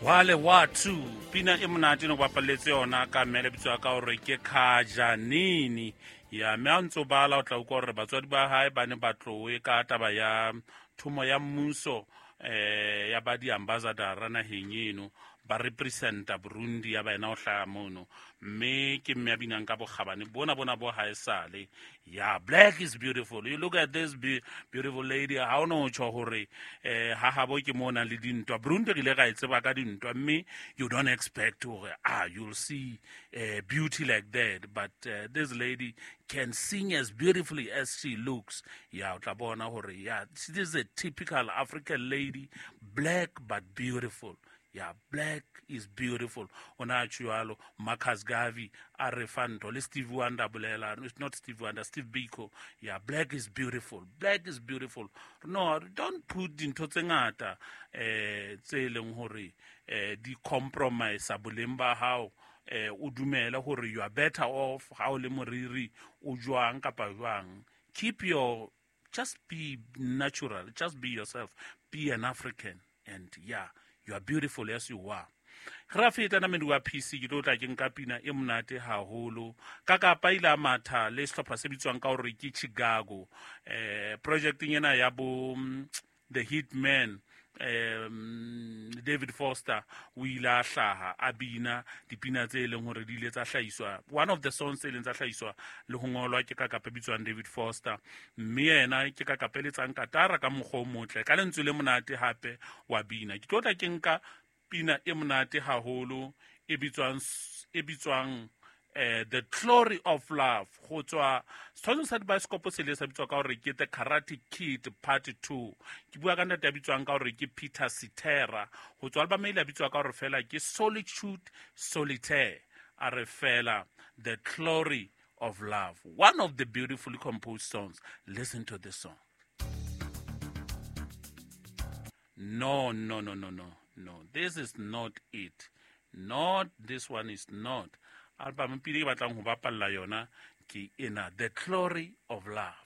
Wale Watu, pina e monate ne go bapaletse yona ka mme le bitswa ka gore ke Khajanini. Ya mme a ntse o bala o tla utlwa gore batswadi ba hae ba ne ba tlowe ka taba ya thomo ya mmuso ya ba di-ambassadora naheng eno, ba representa Burundi ya ba ena o hlaha mono, mme ke mme a binang ka bokgabane bona bona bo haesale. Ya black is beautiful. You look at this beautiful lady, ha o no tjho hore ha habo ke mo nang le dintwa. Burundi re ile ra e tseba ka dintwa, mme you don't expect hore you'll see beauty like that, but this lady can sing as beautifully as she looks. Ya o tla bona hore ya this is a typical African lady, black but beautiful. Yeah, black is beautiful. Ona tjho Marcus Garvey a re fa ntho le Steve Wonder bolela, it's not Steve Wonder, Steve Biko. Yeah, black is beautiful. Black is beautiful. No, don't put dintho tse ngata tse leng hore di compromise boleng ba hao. O dumele hore you are better off ha o le moriri o jwang kapa jwang. Keep your, just be natural, just be yourself, be an African, and yeah, you are beautiful as you are. Re feta na medi wa PC, ke tlo tla ke nka pina e monate haholo. Ka kapa ile a matha le sehlopha se bitswang ka hore ke Chicago. Projecteng ena ya bo The Hitman, David Foster o ile a hlaha a bina dipina tse leng hore di ile tsa hlahiswa, one of the songs tse leng tsa hlahiswa le ho ngolwa ke ka kapa bitswang David Foster, mme yena ke ka kapa letsang katara ka mokgwa o motle ka lentswe le monate hape wa bina. Ke tlo tla ke nka pina e monate haholo e bitswang The Glory of Love, go tswa setshwantsho sa dibaesekopo se le sa bitswa ka hore ke The Karate Kid Part 2. Ke bua ka ntate ya bitswang ka hore ke Peter Cetera, go tswa album e ile ya bitswa ka hore fela ke Solitude Solitaire. A re fela The Glory of Love, one of the beautifully composed songs. Listen to this song. No, no, no, no, no, no, this is not it. Not this one is not. Album pele ke batlang ho bapalla yona ke ena, The Glory of Love.